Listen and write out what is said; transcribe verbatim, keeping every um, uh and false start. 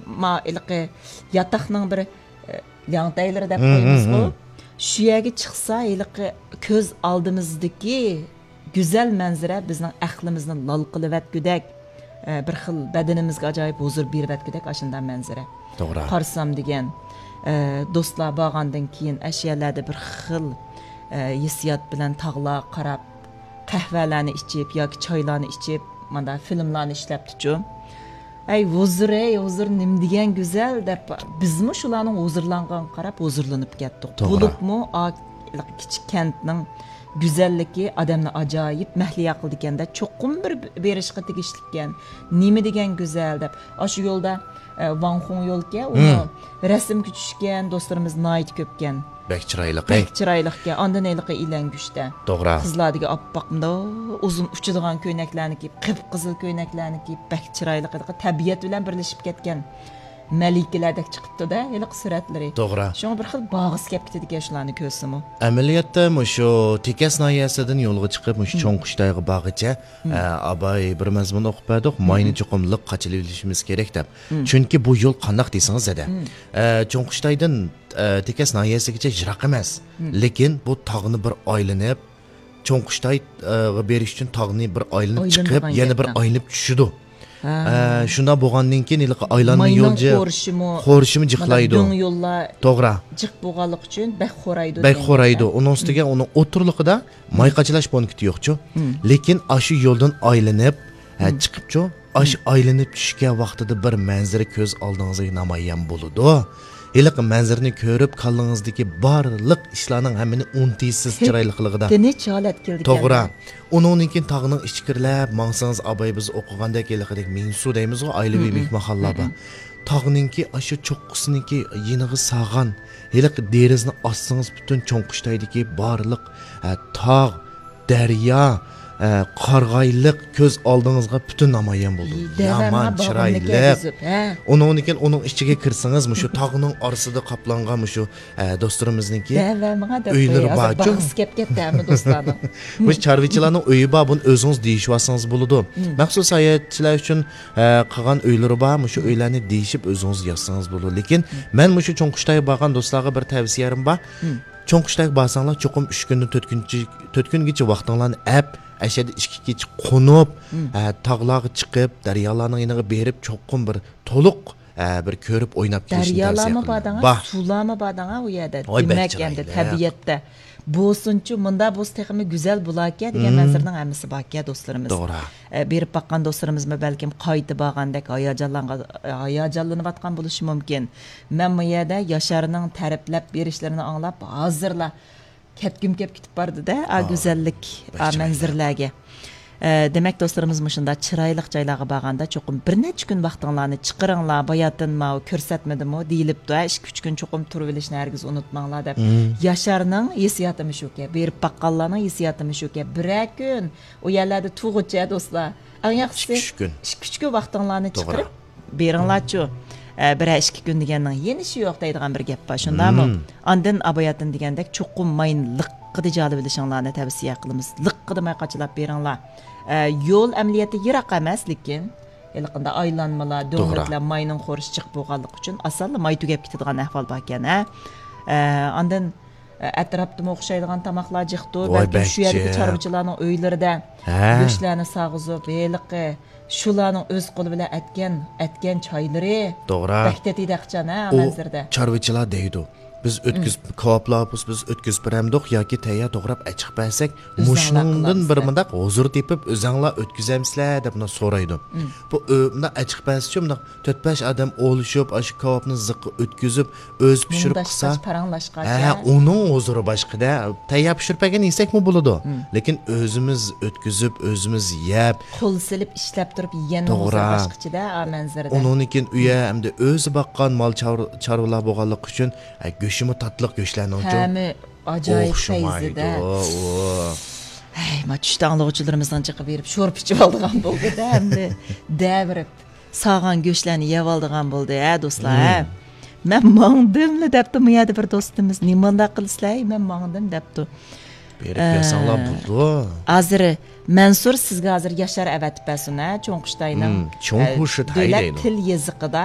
ما ھېلىقى ياتاقنىڭ بىر، ئە، لياڭتەيلىرى دەپ قويىمىزغۇ. شۇ يەرگە چىقسا، ھېلىقى كۆز ئالدىمىزدىكى گۈزەل مەنزىرە بىزنىڭ ئەقلىمىزنى لال قىلىۋەتكۈدەك، ئە، بىر خىل بەدىنىمىزگە ئاجايىپ ھۇزۇر بېرىۋەتكۈدەك ئاشۇنداق مەنزىرە. توغرا. قارىسام دېگەن، ئە، دوستلار بارغاندىن كېيىن ئاشۇ يەرلەردە بىر خىل، ئە، ھېسسىيات بىلەن تاغلارغا قاراپ، قەھۋەلەرنى ئىچىپ ياكى چايلارنى ئىچىپ، مانا فىلىملارنى ئىشلەپتىچۇ. ئەي ھۇزۇر، ئەي ھۇزۇر، نېمە دېگەن گۈزەل دەپ، بىزمۇ شۇلارنىڭ ھۇزۇرلانغانغا قاراپ ھۇزۇرلىنىپ كەتتۇق. توغرا. بولۇپمۇ ئا، كىچىك كەنتنىڭ گۈزەللىكى ئادەمنى ئاجايىپ مەھلىيا قىلىدىكەن-دە، چوقۇم بىر بېرىشقا تېگىشلىككەن. نېمە دېگەن گۈزەل دەپ. ئاشۇ يولدا، ئە، ۋاڭخۇڭ يولكەن، ئۇنى رەسىمگە چۈشكەن دوستلىرىمىز ناھايىتى كۆپكەن. بەك چىرايلىق، ھەي. بەك چىرايلىقكەن. ئاندىن ھېلىقى ئىلەڭگۈچتە. توغرا. قىزلاردىكى ئاپئاق، مۇنداق ئۇزۇن ئۇچىدىغان كۆينەكلەرنى كىيىپ، قىپقىزىل كۆينەكلەرنى كىيىپ، بەك چىرايلىق، ھېلىقى تەبىئەت بىلەن بىرلىشىپ كەتكەن مەلىكىلەردەك چىقىپتۇ-دە، ھېلىقى سۈرەتلىرى. توغرا. شۇڭا بىر خىل بارغۇسى كەپ كېتىدىكەن شۇلارنى كۆرسىمۇ. ئەمەلىيەتتە مۇشۇ تېكەس ناھىيەسىدىن يولغا چىقىپ، مۇشۇ چوڭ قۇشتايغا بارغىچە، ئە، ئاباي بىر مەزمۇن ئوقۇپ بەردۇق، ماينى چوقۇم لىق قاچىلىۋېلىشىمىز كېرەك دەپ. چۈنكى بۇ يول قانداق دېسىڭىز زادە، ئە، چوڭ قۇشتايدىن، ئە، تېكەس ناھىيەسىگىچە يىراق ئەمەس. لېكىن بۇ تاغنى بىر ئايلىنىپ، چوڭ قۇشتايغا بېرىش ئۈچۈن تاغنى بىر ئايلىنىپ چىقىپ، يەنە بىر ئايلىنىپ چۈشىدۇ. ئە، شۇنداق بولغاندىن كېيىن ھېلىقى ئايلانما يول جىق، خورشىمۇ جىقلايدۇ. دۆڭ يوللار توغرا. جىق بولغانلىقى ئۈچۈن بەك خورايدۇ. بەك خورايدۇ. ئۇنىڭ ئۈستىگە ئۇنىڭ ئوتتۇرىلىقىدا ماي قاچىلاش پونكىتى يوقچۇ. لېكىن ئاشۇ يولدىن ئايلىنىپ، ھە، چىقىپچۇ. ئاشۇ ئايلىنىپ چۈشكەن ۋاقتىدا بىر مەنزىرە كۆز ئالدىڭىزغا نامايان بولىدۇ. ھېلىقى مەنزىرىنى كۆرۈپ، كاللىڭىزدىكى بارلىق ئىشلارنىڭ ھەممىنى ئۇنتۇيسىز، چىرايلىقلىقىدا. تىنچ ھالەت كېلىدىكەن. توغرا. ئۇنىڭدىن كېيىن تاغنىڭ ئىچىگە كىرىلەپ ماڭسىڭىز، ئاباي بىز ئوقۇغاندەك ھېلىقىدەك مىڭسۇ دەيمىزغۇ، ئائىلىۋى مېھمانخانىلار بار. تاغنىڭكى ئاشۇ چوققىسىنىڭكى يېنىغا ساغان ھېلىقى دېرىزىنى ئاچسىڭىز، پۈتۈن چوڭ قۇشتايدىكى بارلىق، ھە، تاغ، دەريا، ئە، قارىغايلىق كۆز ئالدىڭىزغا پۈتۈن نامايان بولىدۇ. يامان چىرايلىق. ئۇنىڭدىن كېيىن ئۇنىڭ ئىچىگە كىرسىڭىز، مۇشۇ تاغنىڭ ئارىسىدا قاپلانغان مۇشۇ، ئە، دوستلىرىمىزنىڭكى ئۆيلىرى بارچۇ. باغىسى كەپ كەتتى ھەممە دوستلارنىڭ. مۇشۇ چارۋىچىلارنىڭ ئۆيى بار، بۇنى ئۆزىڭىز دېيىشىۋالسىڭىز بولىدۇ. مەخسۇس ساياھەتچىلەر ئۈچۈن، ئە، قىلغان ئۆيلىرى بار، مۇشۇ ئۆيلەرنى دېيىشىپ ئۆزىڭىز يازسىڭىز بولىدۇ. لېكىن مەن مۇشۇ چوڭ قۇشتايغا بارغان دوستلارغا بىر تەۋسىيەم بار. چوڭ قۇشتايغا بارساڭلار، چوقۇم ئۈچ كۈندىن تۆت كۈنچە-، تۆت كۈنگىچە ۋاقتىڭلارنى ئەپ، ئەشەدە ئىككى كېچە قونۇپ، ئە، تاغلارغا چىقىپ، دەريالارنىڭ يېنىغا بېرىپ، چوقۇم بىر تولۇق، ئە، بىر كۆرۈپ ئويناپ كېلىشنى تەۋسىيە قىلىمەن. دەريالارمۇ بار دەڭا، سۇلارمۇ بار دەڭا ئۇ يەردە. ۋاي، بەك چىرايلىق. دېمەك، ئەمدى تەبىئەتتە بولسۇنچۇ، مۇندا بولسا تېخىمۇ گۈزەل بولاكەن دېگەن مەنزىرىنىڭ ھەممىسى باركەن دوستلىرىمىز. توغرا. ئە، بېرىپ باققان دوستلىرىمىزمۇ بەلكىم قايتا بارغاندەك ھاياجانلانغان، ھاياجانلىنىۋاتقان بولۇشى مۇمكىن. مەن بۇ يەردە ياشارنىڭ تەرىپلەپ بېرىشلىرىنى ئاڭلاپ، ھازىرلا كەتكۈم كەپ كېتىپ باردى-دە، ئا، گۈزەللىك، ئا، مەنزىرىلەرگە. ئە، دېمەك، دوستلىرىمىز مۇشۇنداق چىرايلىق جايلارغا بارغاندا، چوقۇم بىر نەچچە كۈن ۋاقتىڭلارنى چىقىرىڭلار، باياتىن ماۋۇ كۆرسەتمىدىمۇ دېيىلىپتۇ، ھە، ئىككى، ئۈچ كۈن چوقۇم تۇرۇۋېلىشنى ھەرگىز ئۇنتۇماڭلار دەپ. ياشارنىڭ ھېسسىياتىمۇ شۇكەن، بېرىپ باققانلارنىڭ ھېسسىياتىمۇ شۇكەن. بىرەر كۈن ئۇ يەرلەردە تۇرغۇچە، دوستلار. ئەڭ ياخشىسى ئىككى، ئۈچ كۈن. ئىككى، ئۈچ كۈن ۋاقتىڭلارنى چىقىرىپ بېرىڭلارچۇ. ئە، بىرەر ئىككى كۈن دېگەننىڭ يېنىشى يوق دەيدىغان بىر گەپ بار، شۇنداقمۇ؟ ئاندىن ئاباياتىن دېگەندەك چوقۇم ماينى لىققىدە جالىۋېلىشىڭلارنى تەۋسىيە قىلىمىز. لىققىدە ماي قاچىلاپ بېرىڭلار. ئە، يول ئەمەلىيەتتە يىراق ئەمەس، لېكىن ھېلىقىنداق ئايلانمىلار، دۆڭلۈكلەر ماينىڭ خورشى جىق بولغانلىقى ئۈچۈن ئاسانلا ماي تۈگەپ كېتىدىغان ئەھۋال باركەن، ھە. ئە، ئاندىن ئەتراپتىمۇ ئوخشايدىغان تاماقلار جىقتۇ. ۋاي، بەلكىم شۇ يەردىكى چارۋىچىلارنىڭ ئۆيلىرىدە گۆشلەرنى ساغىزىپ، ھېلىقى شۇلارنىڭ ئۆز قولى بىلەن ئەتكەن، ئەتكەن چايلىرى بەك تېتىيدىغان ئىكەن، ھە، مەنزىرىدە. چارۋىچىلار دەيدۇ، بىز ئۆتكۈزۈپ، كاۋاپلار بولسا بىز ئۆتكۈزۈپ بېرەمدۇق ياكى تەييار توغراپ ئەچىقىپ بەرسەك، مۇشۇنىڭدىن بىر مۇنداق ھۇزۇر تېپىپ ئۆزەڭلار ئۆتكۈزەمسىلەر دەپ مۇنداق سورايدۇ. بۇ، ئۆ، مۇنداق ئەچىقىپ بەرسىچۇ، مۇنداق تۆت-بەش ئادەم ئولىشىپ، ئاشۇ كاۋاپنى زىققا ئۆتكۈزۈپ، ئۆزى پىشۇرۇپ قىلسا، مۇڭداشقاچ، پاراڭلاشقاچ، ھە، ھە. ئۇنىڭ ھۇزۇرى باشقىدە. تەييار پىشۇرۇپ بەرگەن يېسەكمۇ بولىدۇ. لېكىن ئۆزىمىز ئۆتكۈزۈپ، ئۆزىمىز يەپ. قول سېلىپ ئىشلەپ تۇرۇپ يېگەننىڭ ھۇزۇرى باشقىچىدە، ئا، مەنزىرىدە. ئۇنىڭدىن كېيىن ئۇ يەر ئەمدى ئۆزى باققان مال چار-، چارۋىلار بولغانلىقى ئۈچۈن، ھە، گۆشىمۇ تاتلىق گۆشلەرنىڭچۇ. ھەمى ئاجايىپ پەيزىدە. ئوخشىمايدۇ. ھەي، ما چۈشتە ئاڭلىغۇچىلىرىمىزنىڭ جىقى بېرىپ شورپا ئىچىۋالىدىغان بولدى-دە، ئەمدى دەۋېرىپ. ساغان گۆشلەرنى يەۋالىدىغان بولدى، ھە، دوستلار، ھە؟ مەن ماڭدىملا دەپتۇ، مۇ يەردە بىر دوستىمىز، نېمانداق قىلىسىلەر، ھەي، مەن ماڭدىم دەپتۇ. بېرىپ ياساڭلار بولىدۇ. ھازىر مەنسۇر سىزگە ھازىر ياشار ئەۋەتىپ بەرسۇن، ھە، چوڭ قۇشتاينىڭ، ئە، دۆلەت تىل يېزىقىدا